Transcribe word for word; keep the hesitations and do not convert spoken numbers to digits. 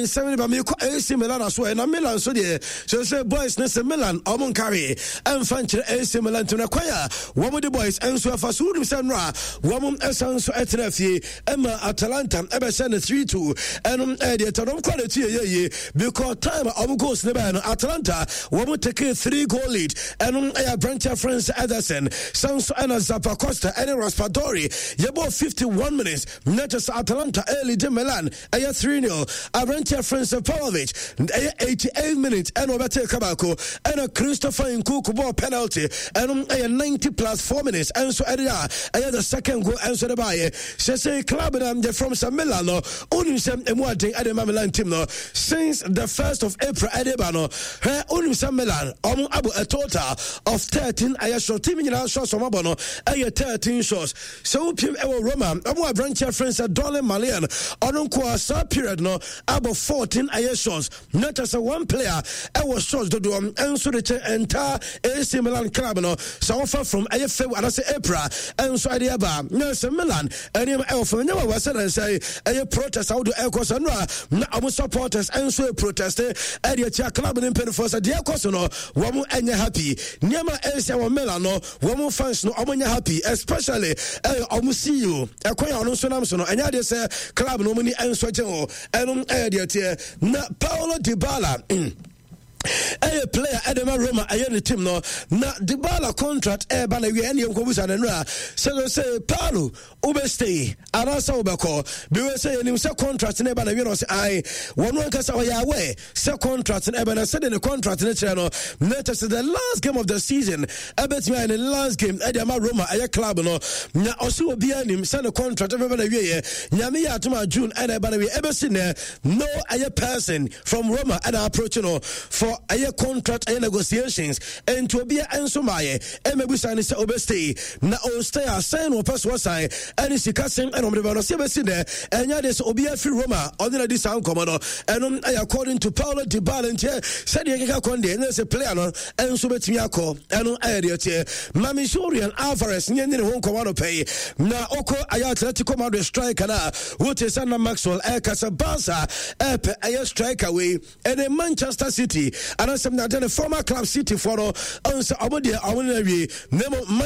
Nsɛm no ba mekɔ A C Milan so ɛ, na Milan so deɛ sɛ sɛ boys ne sɛ Milan ɔmo nkare ɛmfa nkyerɛ A C Milan ntim na kwan a wɔn de boys nso ɛfa so. Wonim sɛ nnora wɔn ɛsan so ɛtena fie ɛma Atalanta ɛbɛhyɛ no three two. Ɛnom ɛdeɛ tɛnɔm kɔ ne tu yɛ yie because time a ɔmo goals ne bɛyɛ no, Atalanta wɔn take three goal lead. Ɛnom ɛyɛ aberanteɛ France Ederson, san so ɛna Zappacosta ɛne Raspadori. Yɛbɔ fifty-one minutes na kyɛ sɛ Atalanta ɛlead Milan ɛyɛ three zero. Aberanteɛ France Pavlovic, ɛyɛ eighty-eight minutes ɛna ɔbɛte ka baako, ɛna Christopher Nkunku bɔɔ penalty. Ɛnom ɛyɛ ninety plus four minutes ɛnso ɛde a ɛyɛ the second goal ɛnso de baayɛ sɛ sɛ club na the from sɛ Milan no, wonim sɛ ɛmu aden ɛde ma Milan team no since the first of April ɛde ba no. Hwɛ, wonim sɛ Milan ɔmo abɔ a total of thirteen ɛyɛ shot. Team nyinaa shots ɔmo abɔ no ɛyɛ thirteen shots. Sɛ wopiem ɛwɔ Roma, ɔmo aberanteɛ frɛ sɛ Donyell Malen, ɔno nko a saa period no abɔ fourteen ɛyɛ shots, na kyerɛ sɛ one player ɛwɔ shots dodoɔ ɛnso de kyɛ entire A C Milan club no. Sɛ wofa from ɛyɛ February anaasɛ April ɛnso ɛde aba na sɛ Milan ɛnneɛma ɛwɔ fam. Nyɛ wɔ sɛ nansɛ ɛyɛ protest ahodoɔ ɛkɔ sɛ no a na ɔmo supporters ɛnso yɛ protest ɛde akyia club no mpanimfoɔ sɛ deɛ ɛkɔ so no, wɔn ɛnyɛ happy. Nneɛma ɛnsia wɔ Milan no, wɔn fans no ɔmo nyɛ happy, especially ɛyɛ ɔmo C E O ɛkwan a ɔno nso nam so no. Ɛnyɛ adeɛ sɛ club no ɔmo ni ɛnso gye hɔ. Ɛno ɛyɛ deɛ teɛ. Na Paulo Dybala ɛyɛ player ɛde ma Roma, ɛyɛ ne team no, na Dybala contract ɛɛba na wie. Ɛne yɛnkɔbusa no no a sɛ sɛ Paulo, wobɛstay anaasɛ wobɛkɔ? Biwɛ sɛ yɛnim sɛ contract no ɛba na wie no, ɔsɛ ae, wɔno ankasa ɔyɛ aware sɛ contract no ɛbɛ na sɛde ne contract no kyerɛ no na kyɛ sɛ the last game of the season ɛbɛtumi ayɛ ne last game ɛde ama Roma ɛyɛ club no. Na ɔsɛ obiara nim sɛ ne contract ɛbɛba na wieɛ. Nyame yɛ atom a, June ɛna ɛba na wie. Ɛbɛsi nɛ no, ɛyɛ person from Roma ɛna approach no for ɛyɛ contract ɛyɛ negotiations, ɛnti obiara ɛnso maayɛ ɛmɛbusa ne sɛ obɛstay na ɔstay a, sɛn na ɔpɛ so ɔsan ɛne sika sɛn ɛna ɔmde ba no sɛ ɛbɛsi nɛ. Ɛnyɛ deɛ sɛ obiara firi Roma ɔne na di saa nkɔmmɔ no. Ɛno ɛyɛ according to Paulo Dybala. Ntiɛ sɛdeɛ keka kɔn deɛ ɛnyɛ sɛ player no ɛnso bɛtumi akɔ. Ɛno ɛyɛ deɛ teɛ. Mame Julian Alvarez nyɛ ne ne ho nkɔmmɔ no pɛyi na ɔkɔ ɛyɛ Atletico Madrid striker no a wote sɛ na Maxwell ɛka sɛ Barca ɛpɛ ɛyɛ striker wei ɛne Manchester City anaasɛm na ade ne former club City foɔ no ɔn sɛ ɔmo deɛ ɔmo no awie na mmom